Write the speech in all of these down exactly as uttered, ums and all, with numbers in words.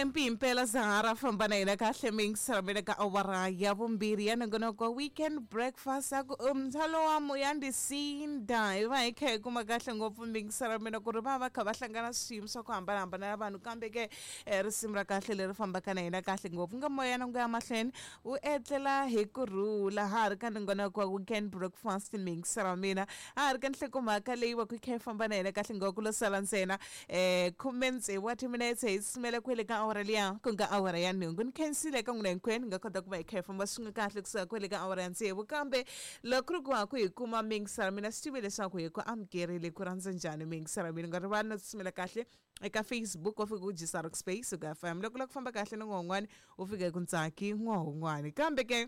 Mpimpela Zahara famba na yena kahle mingisela ka awara ya vumbirhi ya nongonoko weekend breakfast a ku umthalo wa moya ndisinda hi va hi kha hi kuma kahle ngopfu mingisela mina ku ri va va kha va hlangana swiyimo swa ku hambanahambana na vanhu kambe ke risimu ra kahle leri fambaka na yena kahle ngopfu nga moya na nga ya mahlweni wu etlela hi kurhula ha ri ka nongonoko wa weekend breakfast mingisela mina ha ri ka nhlokomhaka leyi va ku kha hi famba na yena kahle ngopfu lo sala ntsena um khume tsevu wa timinetse hi tsutsumela kwele ka awara liya ku nga awara ya nhungu ni khensile ka n'wina hinkwenu nga kota ku va hi kha hi famba swin'we kahle kusuka kwele ka awara ya tsevu kambe loko ri ku ha ku hi kuma mingisela mina swi tive leswaku hi ku amukerile ku rhandza njhani mingisela mina nga rivali no tsutsumela kahle eka Facebook u fika u jisa Rock Space u ka F M loko la ku famba kahle ni n'wan'wani u fika hi ku ntsaki n'wan'wani kambe ke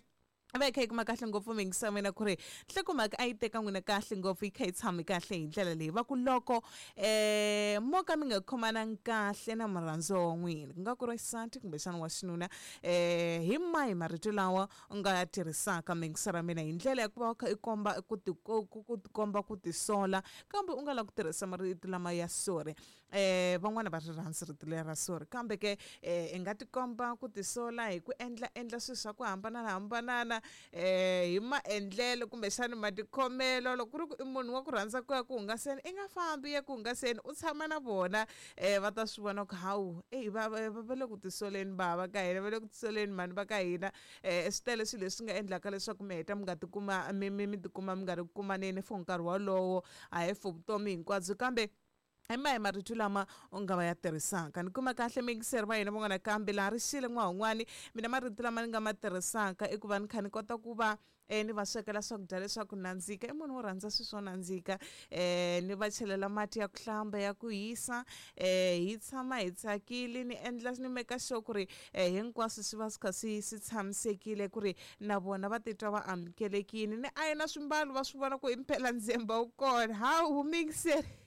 va hi kha hi kuma kahle ngopfu mingisa mina ku ri nhlokomhaka a yi teka n'wina kahle ngopfu yi kha yi tshami kahle hi ndlela leyi va ku loko um mo ka mi nga khomanangi kahle na murhandziwa wa n'wina ku nga ku ri xisati kumbexana wa xinuna um hi mahi marito lawa u nga ya tirhisaka mingisa ra mina hi ndlela ya ku va u kha i komba ku ti ku tikomba ku tisola kambe u nga lavi ku tirhisa marito lama ya sorry um van'wana va ri rhandzi rito leri ra sorry kambe ke um i nga tikomba ku tisola hi ku endla endla swilo swa ku hambananahambanana eh hi maendlelo kumbexana matikhomelo loko ku ri ku i munhu wa ku rhandza ku ya ku hungaseni i nga fambi ya ku hungaseni u tshama na vona um va ta swi vona ku hawu eyi va va le ku tisoleni bava ka hina va le ku tisoleni mhani va ka hina um swi tele swilo leswi nga endlaka leswaku mi heta mi nga tikuma mi mi mi tikuma mi nga ri ku kumaneni for nkarhi wolowo a hi for vutomi hinkwabyo kambe hi mahi marito lama u nga va ya tirhisaka ni kuma kahle mingiseri va hina van'wana kambe laha ri xile n'wahun'wani mina marito lama ni nga ma tirhisaka i ku va ni kha ni kota ku va um ni va swekela swakudya leswaku nandzika i munhu wo rhandza swilo swo nandzika um ni va chelela mati ya ku hlamba ya ku hisa um hi tshama hi tsakile ni endla ni meka sure ku ri um hinkwaswo swi va swi kha swi swi tshamisekile ku ri na vona va titwa va amukelekile ni ayina swimbalo va swi vona ku impela ndzemba wu kona hawu mingiseri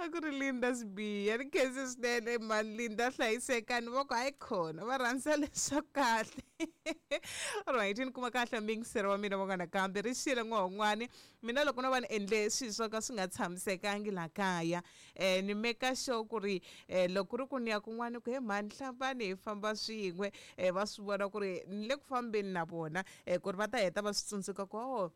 a ku ri Linda Sibiya ni khensi swinene mhani Linda hlayisekani va ku hayi khona va rhandza leswa kahle alright ni kuma kahle mingiseri wa mina van'wana kambe ri xile n'wahun'wani mina loko no va ni endle swilo swo ka swi nga tshamisekangi laha kaya um ni meka sure ku ri um loko ku ri ku ni ya kun'wana ku he mhani hlambani hi famba swin'we um va swi vona ku ri ni le ku fambeni na vona um ku ri va ta heta va swi tsundzuka ku o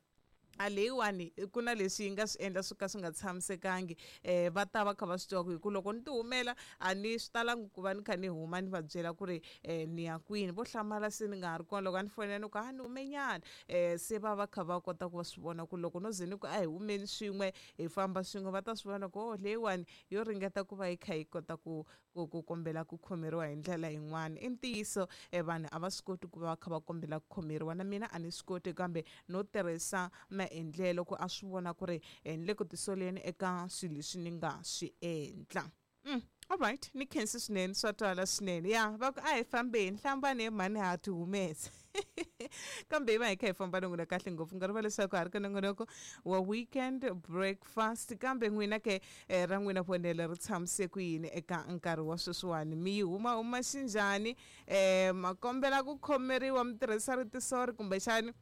a leyiwani ku na leswi yi nga swi endla swo ka swi nga tshamisekangi um va ta va kha va swi tiva ku hi ku loko ni ti humela a ni swi talangi ku va ni kha ni huma ni va byela ku ri um ni ya kwini vo hlamala se ni nga ha ri kona loko a ni fonela ni ku a ni humenyana um se va va kha va kota ku va swi vona ku loko no ze ni ku a hi humeni swin'we hi famba swin'we va ta swi vona ku o leyiwani yo ringeta ku va yi kha yi kota ku ku ku kombela ku khomeriwa hi ndlela yin'wana i ntiyiso um vanhu a va swi koti ku va va kha va kombela ku khomeriwa na mina a ni swi koti kambe no tirhisa maendlelo ku a swi vona ku ri ni le ku tisoleni eka swilo leswi ni nga swi endla mm. Alright ni khensi swinene swa twala swinene ya va ku a hi fambeni hlambani hi mhani ha ti humesa kambe hi va hi kha hi famba na n'wina kahle ngopfu nga riva leswaku ha ri ka nongonoko wa weekend breakfast kambe n'wina ke ra n'wina vonelo ri tshamise ku yini eka nkarhi wa sweswiwani mi yi huma huma xinjhani um ma kombela ku khomeriwa mi tirhisa rito sorry kumbexani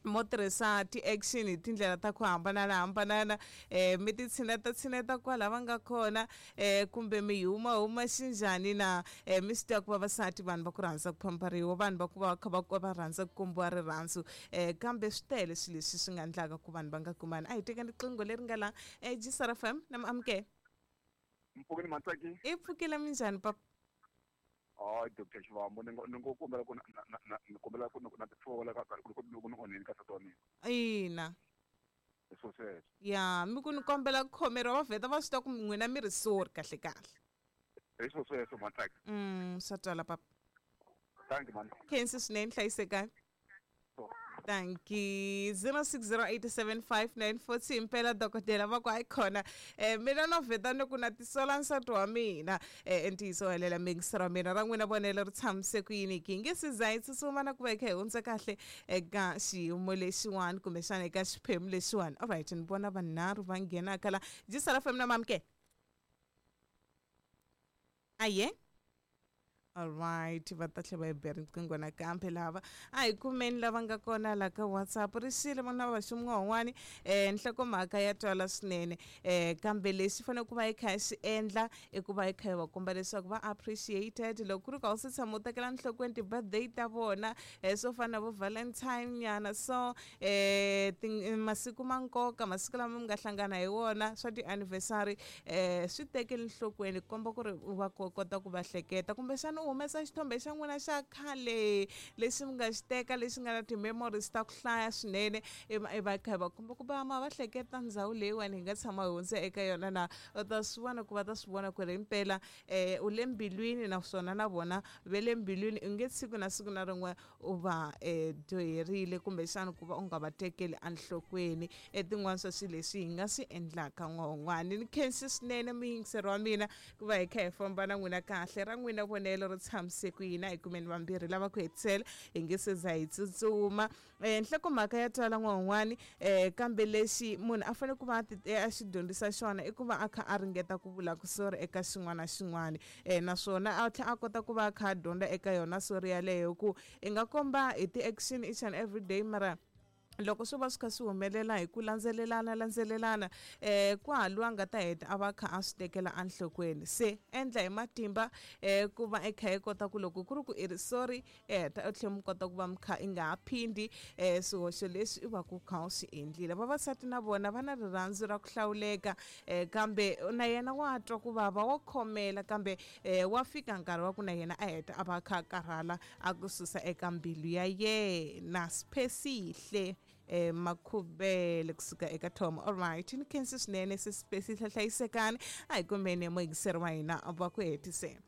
mo tirhisa ti-action hi tindlela ta ku hambananahambanana um mi ti tshineta tshineta kwala va nga kona um kumbe mi huma huma xinjhani na um mi swi tiva ku vavasati vanhu va ku rhandza ku pamperiwa vanhu va ku va kha va va rhandza ku kombiwa rirhandzu um kambe swi tele swilo leswi swi nga endlaka ku vanhu va nga kumani a hi tekeni riqingho leri nga la um G S R F M na miamukela mpfukeni Matsaki i pfukile minjhani papa hayi Doctor Xivambo ni ngo ni ngo kombela ku ni kombela ku na tisola ka ku ku ni onheni ka nsati wa mina ina hi swo sweswo ya mi ku ni kombela ku khomeriwa va vheta va swi tiva ku n'wina mi ri sorry kahle kahle hi swo sweswo Matsaki mm swa twala papa thank you man khensi swinene hlayisekani Thank you. zero six zero eight seven five nine four two impela dokodela va ku hayi khona um mina no vheta ni ku na tisola nsati wa mina um ntiyiso helela mingisero wa mina ra n'wina vonelo ri tshamise ku yini ki nge siza hi tsutsuma na ku va hi kha hi hundza kahle eka xiyimo lexiwani kumbexana eka xiphemu lexiwani alright ni vona vanharhu va nghenaka la G S R F M na mamke aye. Alright, va ta tlhela va hi be riqingho nakambe lava a hi kumeni lava nga kona la ka WhatsApp. Rixile vona va xin'wan'wani um nhlokomhaka ya twala swinene, um kambe lexi fanele ku va hi kha hi xi endla i ku va hi kha hi va komba leswaku va appreciated. Loko ku ri ku a wu se tshama u tekela nhlokweni ti-birthday ta vona, um swo fana na vo Valentine nyana, so um masiku ma nkoka, masiku lama mi nga hlangana hi wona swa ti-anniversary, um swi tekeli nhlokweni ku komba ku ri u va kota ku va hleketa. Kumbexana u humesa xithombe xa n'wina xa khale lexi mi nga xi teka lexi nga na ti-memories ta ku hlaya swinene, i va kha hi va komba ku va ma va hleketa ndhawu leyiwani hi nga tshama hi hundza eka yona na u ta swi vona ku va ta swi vona ku ri himpela um u le mbilwini, naswona na vona ve le mbilwini. U nge siku na siku na rin'we u va um dyoherile kumbexana ku va u nga va tekeli enhlokweni. E tin'wana swa swilo leswi hi nga swi endlaka n'wan'wani. Ni khensi swinene muyingiseri wa mina ku va hi kha hi famba na n'wina kahle. Ra n'wina vonelo ri tshamise ku yini? A hi kumeni vambirhi lava ku hetisela hi nge se za hi tsutsuma. um nhlokomhaka ya twala n'wan'wani, um kambe lexi munhu a fanele ku va a xi dyondzisa xona i ku va a kha a ringeta ku vula ku sorry eka xin'wana na xin'wana, um naswona a tlhela a kota ku va a kha a dyondza eka yona sorry yaleyo, ku i nga komba hi ti-action each and every day, mara loko swo va swi kha swi humelela hi ku landzelelana landzelelana um ku ha loyi a nga ta heta a va kha a swi tekela enhlokweni. Se endla hi matimba um ku va i kha i kota ku loko ku ri ku i ri sorry, i heta u tlhela mi kota ku va mi kha i nga ha phindi um swihoxo leswi i va ku kha u swi endlile. Vavasati na vona va na rirhandzu ra ku hlawuleka, um kambe na yena wa twa ku vava, wa khomela, kambe um wa fika nkarhi wa ku na yena a heta a va kha a karhala a ku susa eka mbilu ya yena. Siphesihle eh Makhubele kusuka eka Tom. Alright, ni khensi swinene sesiphesihle, hlayisekani. A hi kumeni muyingiseri wa hina va ku hetisela.